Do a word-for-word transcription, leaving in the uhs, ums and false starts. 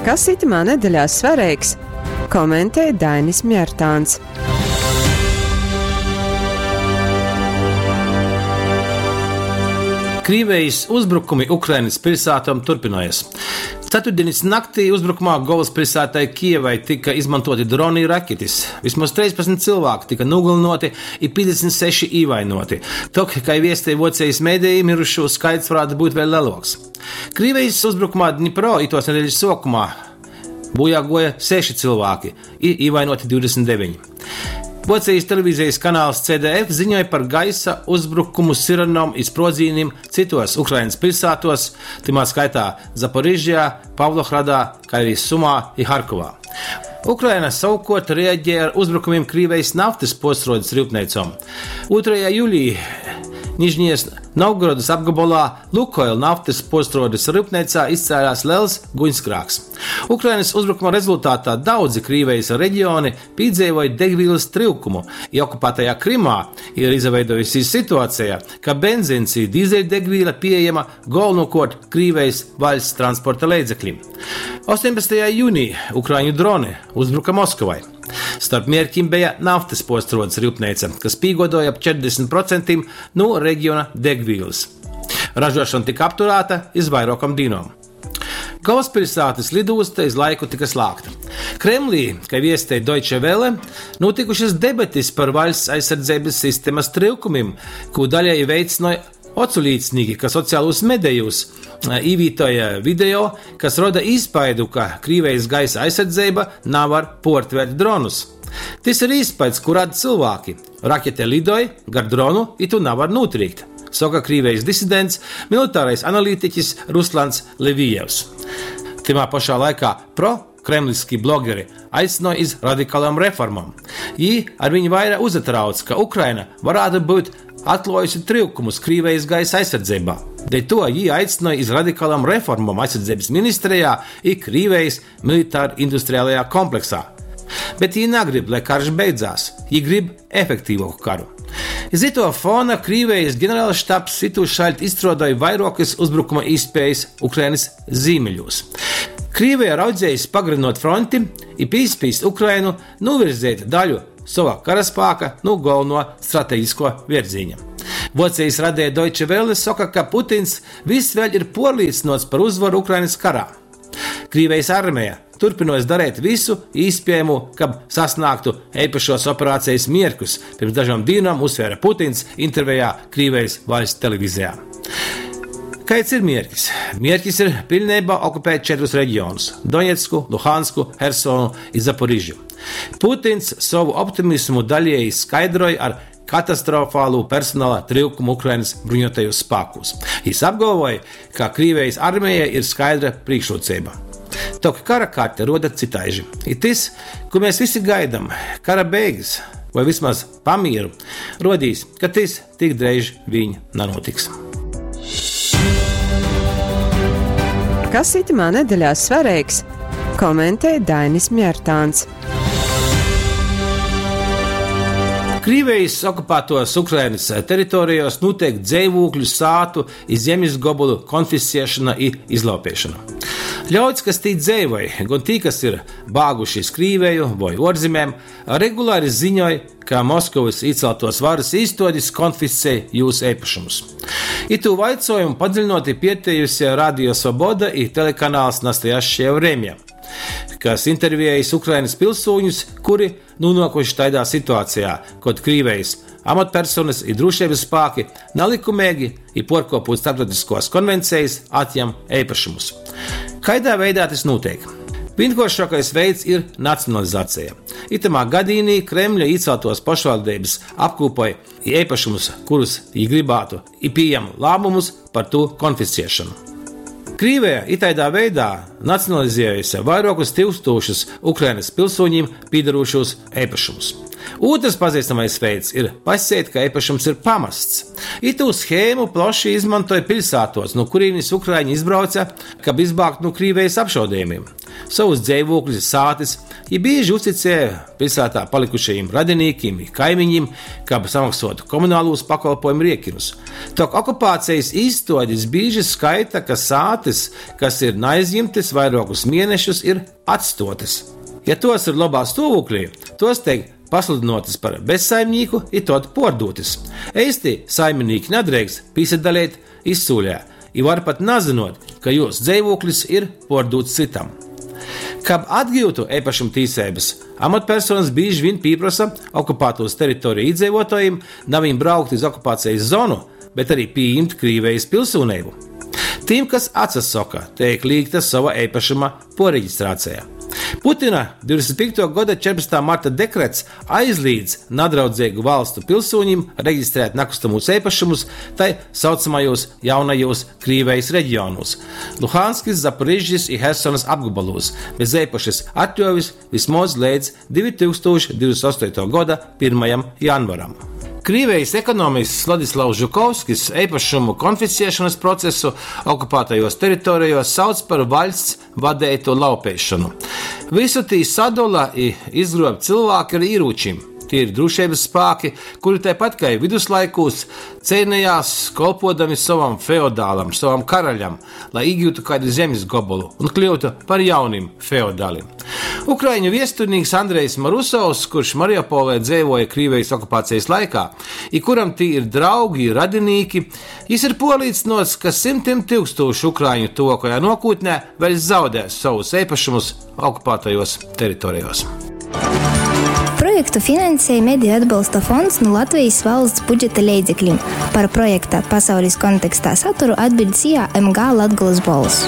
Kas itymā nedeļā svareigs, komentej Dainis Mjartāns. Krīvijas uzbrukumi Ukrainas pilsētām turpinājas. Ceturtdienas naktī uzbrukumā galvaspilsētai Kijevai tika izmantoti droni i raketis. Vismaz treispadsmit cilvēki tika nogalināti i piecdesmit seši ievainoti. Tok, kai viestej Vuocejis medeji, mirušūs skaits varētu būt vēl leloks. Krīvijas uzbrukumā Dnipro itos nedēļas sokumā bojā goja seši cilvēki i ievainoti divdesmit deviņi. Vocijas televīzijas kanāls C D F ziņoja par gaisa uzbrukumu sirenom i sprozīnim citos Ukrainas pilsētos, timā skaitā Zaporižjā, Pavlohradā, kā arī Sumā i Harkovā. Ukraina savukārt reaģēja ar uzbrukumiem Krīvijas naftas posrodas rūpnīcom. Otrajā jūlijā Nižņijas Novgorodas apgabalā Lukoil naftas postrodas rūpnīcā izcēlās liels guņskrāks. Ukrainas uzbrukuma rezultātā daudzi Krīvijas reģioni piedzīvoja degvielas trūkumu, ja okupētajā Krimā ir izveidojusies situācija, ka benzīns i dīzeļdegviela pieejama galvenokārt Krīvijas valsts transporta līdzekļiem. astoņpadsmitajā jūnijā ukraiņu droni uzbruka Maskavai. Starp mērķiem bija naftas postrodas rūpnīca, kas pīgodoja ap četrdesmit procentiem no reģiona degvielas. Ražošana tika apturēta iz vairākam dīnom. Galvaspilsētas lidosta iz laiku tika slēgta. Kremlī, kā viestēja Deutsche Welle, notikušas debates par valsts aizsardzības sistēmas trūkumiem, ko daļai veicināja oculīcnīgi, kas sociālos medijos īvītoja video, kas roda iespaidu, ka Krīvijas gaisa aizsardzība nav var portvērt dronus. Tas ir iespējas, kur rada cilvēki. Rakete lidoja gar dronu, i tu nav var notrīkt, saka Krīvijas disidents, militārais analītiķis Ruslans Levijevs. Timā pašā laikā pro-kremliski blogeri aicināja iz radikālām reformām. Jī ar viņu vairāk uzatrauc, ka Ukraina varētu būt atklājusi trūkumus Krīvijas gaisa aizsardzībā. Dēļ to jī aicināja iz radikālām reformām aizsardzības ministrijā i Krīvijas militāri-industriālajā kompleksā. Bet jī negrib, lai karš beidzās, jī grib efektīvāku karu. Iz ito fona Krīvijas ģenerālštabs itūšaļt izstrādāja vairākas uzbrukuma iespējas Ukrainas ziemeļos. Krīvija raudzējis pagarinot fronti i pīspīst Ukrainu novirzēt daļu sava karaspēka no galveno strateģisko virziņa. Vocijas radēja Deutsche Welle saka, ka Putins viss vēl ir porlīcinots par uzvaru Ukrainas karā. Krīvijas armija turpinojas darīt visu iespējamo, kab sasniegtu īpašos operācijas mierkus. Pirms dažām dienām uzsvēra Putins intervijā Krīvijas valsts televīzijā. Kāds ir mierkis? Mierkis ir pilnībā okupēt četrus reģionus – Doņetsku, Luhansku, Hersonu un Zaporižu. Putins savu optimismu daļēji skaidroja ar katastrofālu personāla trūkumu Ukrainas bruņotajos spēkos. Jis apgalvoja, ka Krīvijas armijai ir skaidra priekšrocība. Tok kara karte roda citaiži. Ir tas, ko mēs visi gaidām, kara beigas vai vismaz pamieru, rodīs, ka tas tik dreiž viņ nenotiks. Kas itamā nedēļā svarīgs, komentē Dainis Mjartāns. Krīvijas okupētos Ukrainas teritorijos notiek dzīvokļu, sātu i zemes gobulu konfiscēšana i izlaupīšana. Ļauds, kas tī dzīvoja, gan tī, kas ir bāguši iz Krīveju vai ārzemēm, regulāri ziņoja, ka Maskavas ieceltos varas īstodes konfiscē jūs īpašumus. Itu vaicojumu padziļinoti pietējusi Radio Svoboda i telekanāls Nastojašķie Vremja, kas intervējis Ukrainas pilsoņus, kuri nonākuši tādā situācijā, kad Krīvijas amatpersonas i drošības spēki nelikumīgi i porkopot starptautiskos konvencijas atņem īpašumus. Kaidā veidā tas notiek? Vienkāršākais veids ir nacionalizācija. Itamā gadījumā Kremļa ieceltos pašvaldības apkopoja īpašumus, kurus viņi gribētu, i pieņem lēmumus par to konfiscēšanu. Krīvija itaidā veidā nacionalizējusi vairākus tūkstošus Ukrainas pilsoņiem piedarošos īpašumus. Otrs pazīstamais veids ir pasēt, ka īpašums ir pamests. Itu schēmu plaši izmantoja pilsētos, no kurienes ukraiņi izbrauca, kab izbāgt no Krīvijas apšaudījumiem. Sovus dzeivūkļus i sātys jī bīži uzticēja piļsātā palikušajim radinīkim i kaimiņim, kab samoksuotu komunalūs pakolpuojumu riekinus. Tok okupācejis īstuodis bīži skaita, ka sātys, kas ir naaizjimtys vairuokus mienešus, ir atstuotys. Ja tuos ir lobā stuovūklī, tuos teik pasludynuotys par bezsaimnīku i tod puordūtys. Eisti saiminīki nadreikst pīsadaleit izsūlē i var pat nazynuot, ka jūs dzeivūklis ir puordūts cytam. Kab atgiutu eipašumtīseibys, amatpersonys bīži viņ pīprosa okupātūs teritoreju īdzeivuotuojim na viņ braukt iz okupācejis zonu, bet ari pījimt Krīvejis pilsūneibu. Tim, kas atsasoka, teik līgta sova eipašuma puorregistrāceja. Putina divdesmit pīktuo goda četrpadsmituo marta dekrets aizlīdz nadraudzeigu valstu pilsūņim registrēt nakustamūs eipašumus tai saucamajūs jaunajūs Krīvejis regionūs – Luhanskys, Zaporižžis i Hersonys apgobolūs bez eipašys atļuovis vysmoz leidz divi tūkstūši divdesmit ostuotuo goda pyrmajam janvaram. Krīvejis ekonomists Vladislavs Žukovskis eipašumu konfisciešonys procesu okupātajuos teritorejuos sauc par vaļsts vadeitu laupeišonu. Vysu tī sadola i izgruob cylvāki ar īrūčim. Tie ir drūšeibys spāki, kuri taipat kai viduslaikūs ceinejās, kolpodami sovam feodālam, sovam karaļam, lai īgūtu kādu zemes gobolu un kļūtu par jaunim feodālim. Ukraiņu viesturnīks Andrejs Marusovs, kurš Mariupolē dzeivoja Krīvijas okupācijas laikā, i kuram tī ir draugi, radinīki, jis ir puorlīcynuots, ka simtim tūkstošu ukraiņu tuvākajā nokūtnē vēl zaudēs savus eipašumus okupētajos teritorijos. Projektu finansēja Mediju atbalsta fonds nu Latvijas valsts budžeta leidzeklim. Par projekta Pasaules kontekstā saturu atbild S I A M G Latgolas Bolss.